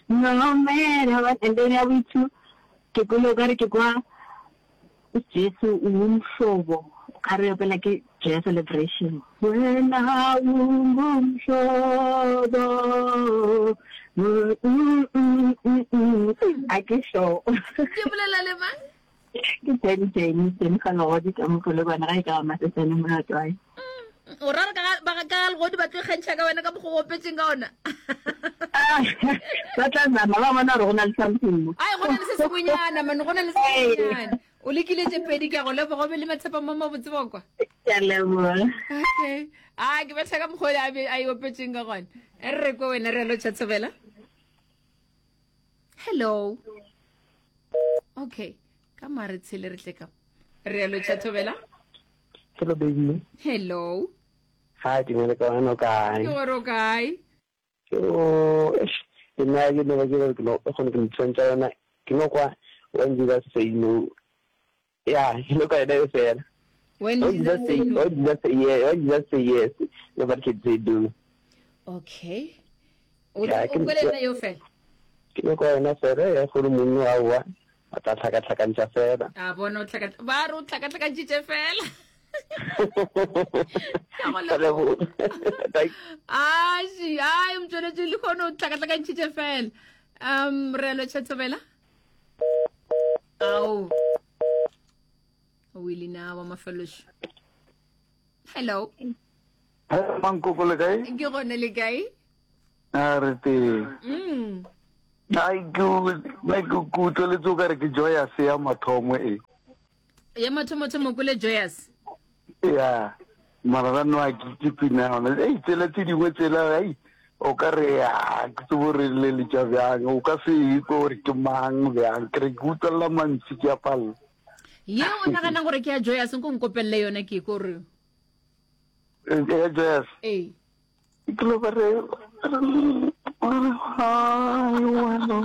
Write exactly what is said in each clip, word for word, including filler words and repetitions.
No matter what. And then ya boithu ke kwele o kare ke kwa Jesu ungumhlobo o ka re opela ke Joyous Celebration. Wena ungumhlobo mm, mm, mm, mm, mm. A ke sure. Ke bolela le mang? Ke Jenny Jenny Jenny ga legodi ka mopolokwane ga e ka ba masesane molatwae. Mm, o ra re ka ga- ba ga- ka ga legodi ba tlo ikgantšha ka wena ka mokgwa o opetseng ka ona. Ah, ba tla zama ba bona gore go na le something mo. Ai, go na le se sengwenyana man, go na le se sengwenyana. O lekile tše pedi ke a go leboga o be le matshepa mo mabotse bokwa. Ke a leboga. Okay. A ke betha ka mokgwa o a be a e opetseng ka gona. E re re kwe wena re a lotšha thobela. Hello. Okay. Ka mare tshele re tle ka. Re a lotšha thobela. Hello baby. Hello. Hi, dumela ka wena o kae? Ke gore o kae? Oh, eish, ke nna ke no ba ke re ke no kgone ke ntshwantša yona ke no kwa when Jesus say no. Yeah, ke no kwa yona e fela. When When Jesus Jesus say say, no. when Jesus say yes, when Jesus say yes, nobody can say no. Okay. O Yeah, o ke kwele yona eo fela. ke no kwa yona fela ya gore mongwe aowa a tla tlhakatlhakantša fela. A bona o tlhaka ba re o tlhakatlhakantšitše fela. Ke a go Ka leboga. leboga. Thank Aši, ai motšweletši le kgone o tlhakatlhakantšitše fela. Um re a lotšha thobela. Ao. O ile na wa mafelošo. Hello. Hello, Mankoko le kae? Ke gone le kae? A re teng. Mm. Ai ke nna ke ke utlweletse o kare ke Joyous ya mathomo e. Ya mathomothomo kule Joyous. Ya. Mara ra no a ke ke pina yona. Ei tsela tse dingwe tsela ai o ka re a ke tsebo re le letša bjang o ka se ikwe gore ke mang bjang ke re ke utlwelela mantši ke a palela. Ye o naganang gore ke ya Joyous nko nkopelele yona ke ko re. Eh, Ya Joyous. Ee. Ke lo ba re re hi wena.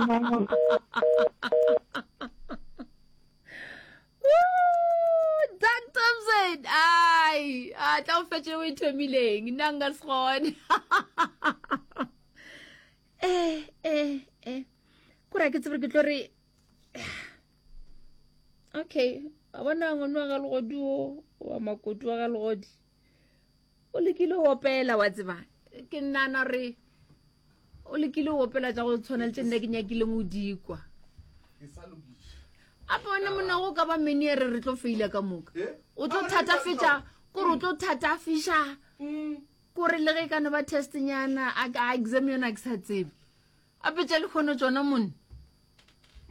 Woo, Doug Thompson. Ai, a tla o fetše o e thomileng. Nna nka se kgone. Eh, eh, eh. Kore ha ke tsebe gore ke tlo re Okay, a bona ngwana wa ga legodi o wa makoti wa ga legodi. O lekile go opela wa tseba. Ke nana re o lekile go opela tša go tshwana le tše nna ke nyakileng o di kwa. Ape wena monna go ka ba meniere re tlo faila ka moka. O tlo thatafetša kore o tlo thatafiša kore le ge e ka no ba test nyana a a exam yona a ke sa tsebe. Ape tša lekgono tšona monna.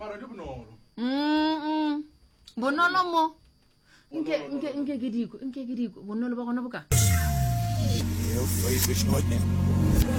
Mara di bonolo. Mm, bonolo mo. Nke nke nke ke dikwe, nke ke dikwe. Bonolo ba gona boka.